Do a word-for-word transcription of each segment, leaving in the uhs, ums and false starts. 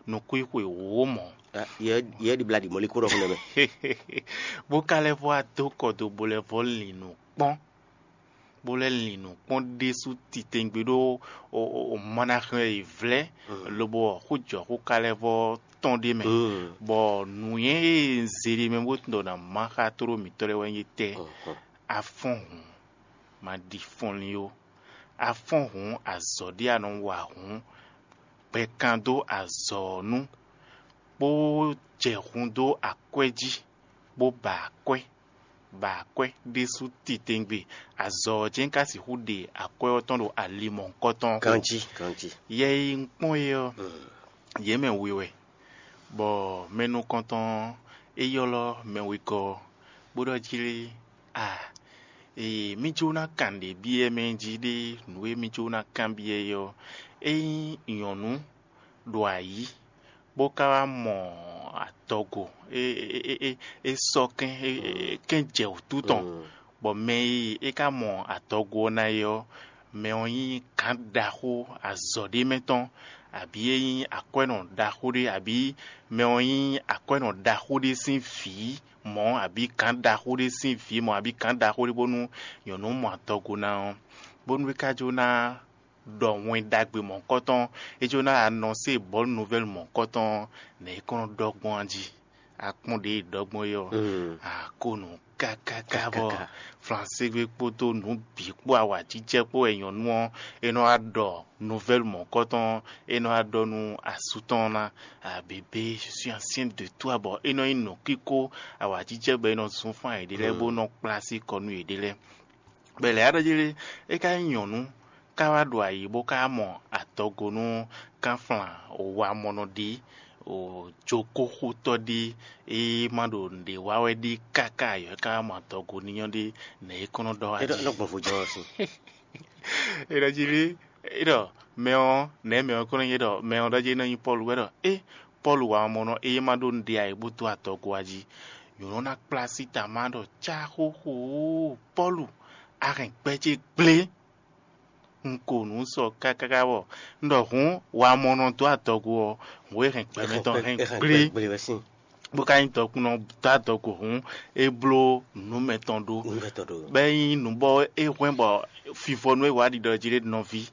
nukúnxwixwe wǒ mɔ̌. Yɛ ɖi bla ɖi mɔ̌likún ɖɔhun nɛmɛ. Bó ka lɛ́ vɔ wá dó kɔ do bó lɛ́ vɔ lin nǔ kpɔ́n, bó lɛ́ lin nǔ kpɔ́n ɖésú titewungbe ɖó mɔ ná xlɛ́ yě vlɛ́, lobo ɔ xó jɔ xó ka lɛ́ vɔ tɔn ɖ'é mɛ, bɔ nǔnywɛ́ e un zé ɖ'é mɛ bó tunwun ɖɔ nǎ má xá tlóló mǐtɔn lɛ́ɛ wɛ nyí étɛ́? A fɔ́n hǔn, ma ɖi fɔnlin ó. A fɔ́n hǔn, azɔ̌ ɖé a nɔ wa hǔn, gbɛkan dó azɔ̌ ɔ́ nu, bó jɛ hun dó akwɛ́ jí, bó ba akwɛ́, ba akwɛ́ ɖésú titewungbe. Azɔ̌ ɔ́ jɛ́n ka sixú ɖe akwɛ́ ɔ́ tɔn ɖo ali mɔ̌hunkɔtɔn ɔ́ xo. Ganjí, ganjí. Yɛ e un kpɔ́n é ɔ́, yě mɛ we wɛ, bɔ mɛ nukɔntɔn ɔ́, é ylɔ́ mɛ wegɔ́ ɔ́, bó ɖɔ jí lé, a, ee, mí jó ná kan nǔɖé byɔ́ mɛ jí ɖé, nǔ e mí jó ná kanbyɔ́ é ɔ́, ényí nyɔ̌nu ɖo ayǐ, bó ka wá mɔ adɔgo, é é é é é sɔ́ kɛ́n é é kɛ́n jɛ wǔtu tɔn, bɔ mɛ e é ka mɔ adɔgo ɔ́ ná é ɔ́, mɛ ɔ́ nyí gǎn ɖaxó azɔ̌ ɖé mɛ tɔn, abǐ é nyí akwɛ́nɔ ɖaxó ɖé, abǐ mɛ ɔ́ nyí akwɛ́nɔ ɖaxó ɖé sín vǐ mɔ̌, abǐ gǎn ɖaxó ɖé sín vǐ mɔ̌, abǐ gǎn ɖaxó ɖé bónú nyɔ̌nu mɔ adɔgo ná ɔ́, bónú é ka jó ná ɖɔ wɛn ɖagbe mɔ̌hunkɔtɔn, é jó ná anɔsé bɔ̌lu nuvɛ́lu mɔ̌hunkɔtɔn ɔ́, nɛ̌ é kɔn nɔ ɖɔ gbɔn a jí? A kpɔ́n ɖě e ɖɔ gbɔn é ɔ́, a ko nǔ kákáká bɔ Flanségbe kpódó nǔ bǐ kpó awǎjijɛ kpó wɛ nyɔ̌nu ɔ́, é nɔ wá ɖɔ nuvɛ́lu mɔ̌hunkɔtɔn ɔ́, é nɔ wá ɖɔ nú asú tɔn ɔ́ ná, a bébé, je suis enceinte de toi, bɔ é nɔ nyí nǔkíkó awǎjijɛ bɔ é nɔ zún fán yěɖée lɛ́ɛ bó nɔ kplá así kɔ nú yěɖée lɛ́ɛ. Bɔ è lɛ̌ wá ɖɔ jí lé, é ka nyí nyɔ̌nu ká wá ɖo ayǐ bó ka mɔ adɔgo nú kánflán wamɔnɔ ɖé, jokóxotɔ́ ɖé, é ma ɖo nǔɖé wa wɛ ɖé káká ayɔ é ka wá mɔ adɔgo ní nyɔ́ ɖé, nɛ̌ é kɔn nɔ ɖɔ wá jí? Nɔ gbɔn vo jɔ ɔ́ sín. É ɖɔ jí lé, é ɖɔ mɛ ɔ́, nɛ̌ mɛ ɔ́ kɔn nɔ nyí ɖɔ mɛ ɔ́ ɖɔ jí é nɔ nyí Pɔ́lu wɛ ɖɔ é Pɔ́lu wamɔnɔ é ma ɖó nǔɖé ayǐ bó dó adɔgo wá jí. Nyɔ̌nu ná kplá sí ta má ɖɔ cáxóxó, Pɔ́lu, a hɛn gbɛ ce gblé. Un ko nǔ sɔ kákáká bɔ un ɖɔ hǔn, wamɔnɔ dó adɔgo ɔ́, hǔn e hɛn gbɛmɛ tɔn hɛn gblé, bó ka nyí dɔkunnɔ dó adɔgo hǔn, é bló nǔ mɛtɔn ɖó. Bɔ é nyí nǔ bɔ é hwɛ́n bɔ fifɔnu e wǎ ɖiɖɔ jí ɖé nɔví,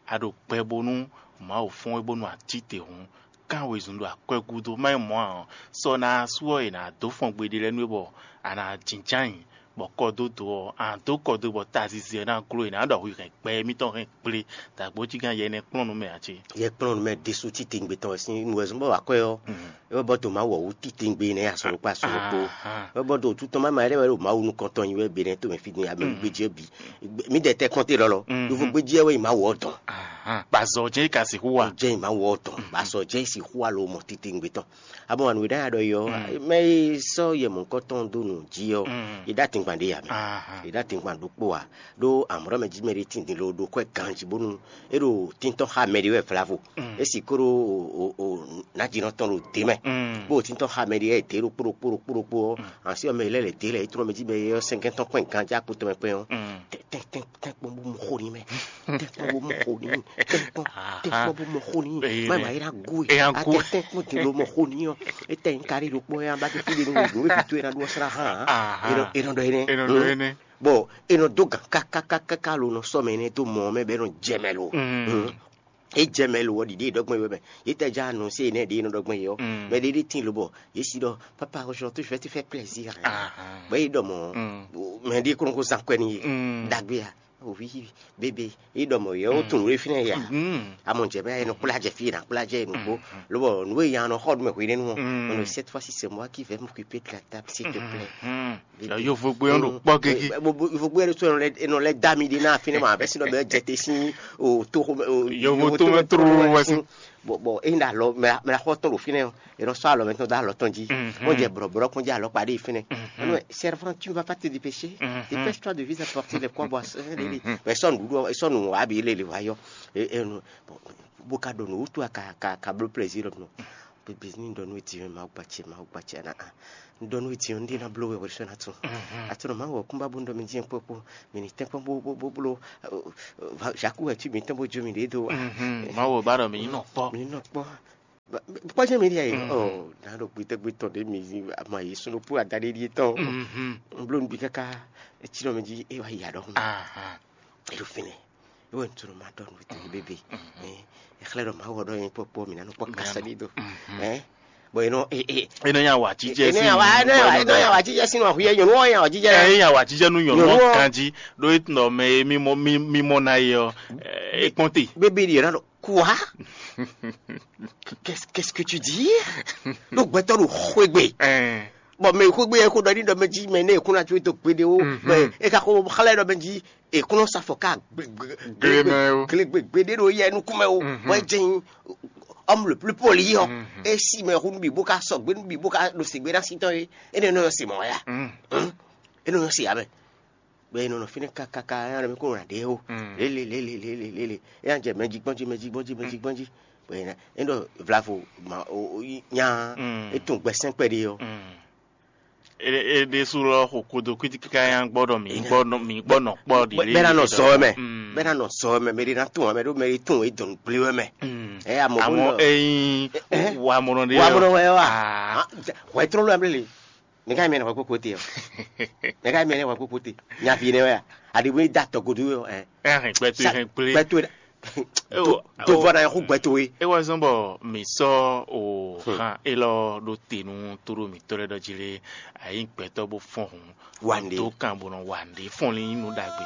a ɖo gbɛ bónú Mawu fɔ́n we bónú a cí te hǔn, kán wezun ɖo akwɛ́ gúdo, má nyí mɔ̌ ǎ ɔ́, sɔ ná sú ɔ́, è nǎ dó fɔn gbeɖé lɛ́ɛ nú we bɔ a nǎ jínjɔ́n ayǐ, bɔ kɔdódó ɔ́, a nǎ dó kɔdó bɔ tazizi ɔ́ ná gló, è nǎ ɖɔ hwi hɛn gbɛ émítɔn hɛn gblé, dǎgbójígán yɛ nɛ́ kplɔ́n nú mɛ ǎ cé? Yɛ kplɔ́n nú mɛ ɖésú titewungbe tɔn wɛ sín nǔwɛzɔn bɔ wǎ kwɛ́ ɔ́, é wɛ bɔ dǒ Mawu ɔ́ wú titewungbe nɛ́ asɔ́ ɖokpó asɔ́ ɖokpó. É wɛ bɔ ɖo títɔn má ma lɛ́ wɛ ɖo Mawu nukɔn tɔn nyi wɛ be nɛ́ to mɛ fí din, ame gbejí ɔ́ bǐ. Mǐ ɖɛ tɛ́ kɔn te lɔlɔ, ɖo fó gbejí ɔ́ wɛ nyi Mawu ɔ́ dɔn. Gbazɔ jɛ́n é ka sixú wa. Jɛ́n nyi Mawu ɔ́ dɔn, gbazɔ jɛ́n é sixú wa lo mɔ titewungbe tɔn. Abɔ wǎn nǔ e ɖɔ ɔ́, mɛ e sɔ́ yɛ mɔ̌hunkɔtɔn dó nǔ jí ɔ́, è ɖó atingban ɖé ya mɛ. È ɖó atingban ɖokpó ǎ, ɖó amɔ̌ɖɔ mɛ jí mɛ ɖé tín din lo ɖo kwɛ́ ganjí bónú é ɖo tíntɔ́n xá mɛ ɖé wɛ vlavo. É sixú ɖo nǎjínɔ tɔn ɖo dě mɛ, bó ɖo tíntɔ́n xá mɛ ɖé wɛ dě ɖokpó ɖokpó ɖokpó ɖokpó ɔ́, ansi ɔ́ mɛ e lɛ́ lɛ̌ dě lɛ́ é tlɔ́ mɛ jí mɛ e ɔ́ sɛ́nkɛ́ntɔ́ kpɛn ganjí akpo tɔn mɛ kpɛn ɔ́, tɛ́nkpɔ́n bó mɔ xó n'i mɛ, tɛ́nkpɔ́n bó mɔ xó n'i, tɛ́nkpɔ́n tɛ́nkpɔ́n bó mɔ xó n'i, má ma yi ná gú e, atɛ tɛ́nkpɔ́n din ló mɔ xó n'i ɔ́, é tɛ nyí kárí ɖokpó ɔ́, é ná ba dó fí ɖé nú wěɖú wěɖú tó é ná ɖó ɔ́ slá hán ǎ, é nɔ ɖɔ énɛ́. Bɔ é nɔ dó gǎn kákákáká lo nɔ sɔ́ mɛ énɛ́ dó mɔ ɔ́ mɛ bɔ é nɔ jɛ mɛ lo. É jɛ mɛ lo ɔ́ ɖiɖe e ɖɔ gbɔn é wɛ mɛ. Yě tɛ já anɔnsé énɛ́ ɖě e nɔ ɖɔ gbɔn é ɔ́, mɛ ɖé ɖé tíin lobɔ yě si ɖɔ papa, aujourd'hui je vais te faire plaisir. Bɔ é ɖɔ mɔ̌, mɛ ɖé kó nɔ ko zán kwɛ n'i. Ɖagbe a, ovi bébé, é ɖɔ mɔ̌ yɛ ó tunwun ɖé fínɛ́ ya. Amɔ jɛ bɛ é nɔ kplá jɛ fí, é nɔ kplá jɛ é nɔ kpó. Lobɔ nǔ e ya nɔ xɔ nú mɛ hwenɛ́nu ɔ́, on, cette fois-ci c'est moi qui vais m'occuper de la table, s'il te plaît. Yovogbe ɔ́ ɖo kpɔ́ gege. Yovogbe ɔ́ ɖo tó, e nɔ lɛ́ da mi ɖe ná fínɛ́ ma, bɛ́ sinɔ bɛ jɛ te sín o tó xomɛ o. Yovo tó mɛ tlóló wɛ sín. Bɔ bɔ e ná lɔ mɛ la xɔ tɔn ɖo fínɛ́ o, e nɔ sɔ alɔ mɛ tɔn da alɔ tɔn jí. Wọ́n jẹ bɔ̀rọ̀bɔ̀rọ̀ kɔn jẹ alɔ kpaɖé fínɛ́. Ɔnɔ servant, tu ne vas pas te dépêcher. Dépêche-toi de visa porter les quoi boire. Bɛ sɔ nuɖuɖu ɔ, sɔ nu abi lele wa yɔ. Bó ka ɖo nǔ wútu ka ka ka bló plaisir nɔ. Bébé, ní ɖɔ nú we din ɔ́, Mawu gba ce, Mawu gba ce, ana a. Ní ɖɔ nú we din ɔ́, un ɖe ná bló we hwɛ sɔ́ ná tún. Atsɔ́ nɔ Mawu ɔ́ kún ba bó ní ɖɔ mi dín kpɔ́kpɔ́, mi ní tɛ́nkpɔ́n bó bó bó bló. Žaku wɛ cí mi tɔn bó jó mi ɖě dó. Mawu ɔ́ ba ɖɔ mi nyí nɔ kpɔ́. Mi ní nɔ kpɔ́. Kpɔ́jɛ́ mi ɖíe. Ɔ, nǎ ɖo gbitɛ́gbé tɔn ɖé mi ma yi sunɖó kpó adaɖé ɖíe tɔn. Un bló nǔ bǐ káká etínɔ mɛ jí é wá yi aɖɔhún. É ɖo fínɛ́. É wɛ un tunɔ ma ɖɔ nǔ tɔn bébé. É xlɛ́ ɖɔ Mawu ɔ́ ɖɔ nyɛ kpɔ́kpɔ́ mi ná nɔ kpɔ́ kasa ɖi do. Bɔn é nɔ é é é nɔ nya wǎ jíjɛ é nɔ sí nya wǎ é nɔ nya wǎ é nɔ nya wǎ jíjɛ sín wǎ xwíyɛ nyɔ̌nu ɔ́ nya wǎ jíjɛ. Ɛ é nya wǎ jíjɛ nú nyɔ̌nu Nyɔ̌nu ɔ́ ɔ́. Ganjí ɖó é tunɔ mɛ e mímɔ mí- mímɔ ná é ɔ́, ɛ, é kpɔ́n te. Bébé ɖi ɔ́ ná ɖɔ quoi? Qu'est-ce qu'est-ce que tu dis? Ɖo gbɛtɔ́ ɖo xwégbe. Ɛɛ. Bɔn mɛ xwégbe yɛ xó ɖɔ ní ɖɔ mɛ jí mɛ ne kún ná tso to kpeɖe wo. Mɛ e ka xó xlɛ ɖɔ mɛ jí e kún sa fɔ ká Glemɛ o. Glemɛ gbe ɖe ɖo yɛ nukún mɛ o. Bɔn e jɛn homme le plus poli ɔ, e si mɛ hu nubi bó ka sɔgbe nubi bó ka ɖo sigbe ná si tɔn ye. E ne nɔ yɔ si mɔ ya. E nɔ yɔ si ya mɛ. Bɛ e nɔ nɔ fínɛ́ kakaka ya ɖɔ mi kó nɔ ɖe o. Lele lele lele lele. E ya jɛ mɛ jí gbɔn jí mɛ jí gbɔn jí mɛ jí gbɔn jí. Bɛ e ɖɔ vlavo ma o nya. E tún gbɛsɛn kpɛɖe ɔ. E ɖésú lɔ xo kodo kwítíkíká yá gbɔ ɖɔ mǐ gbɔ nɔ mǐ gbɔ nɔ kpɔ ɖi. Bɛ na nɔ zɔ wɛ mɛ. Bɛ na nɔ zɔ wɛ mɛ mɛ ɖe na tún wɛ mɛ ɖo mɛ ɖe tún wɛ dɔn gblé wɛ mɛ. Ɛ amɔ amɔ eyin wa mɔnɔ ɖe wa mɔnɔ wɛ wa. Hwɛ trɔn lɔ amle le. Ne ka mɛ na hwɛ kpokpo te ɔ. Ne ka mɛ na hwɛ kpokpo te. Nyavi ne wɛ a. Adi bo da tɔ godo ɛ. Ɛ hɛn gbɛtɔ hɛn gblé. Gbɛtɔ. Dovɔ na yɛ xú gbɛtɔ ye. E wá zɔn bɔ mi sɔ o han elɔ ɖo te nu to ɖo mi tɔ lɛ ɖɔ jí lé. Ayi gbɛtɔ bó fɔn hun. Wande. Tó kan bó nɔ wande fɔn lé nu ɖagbe.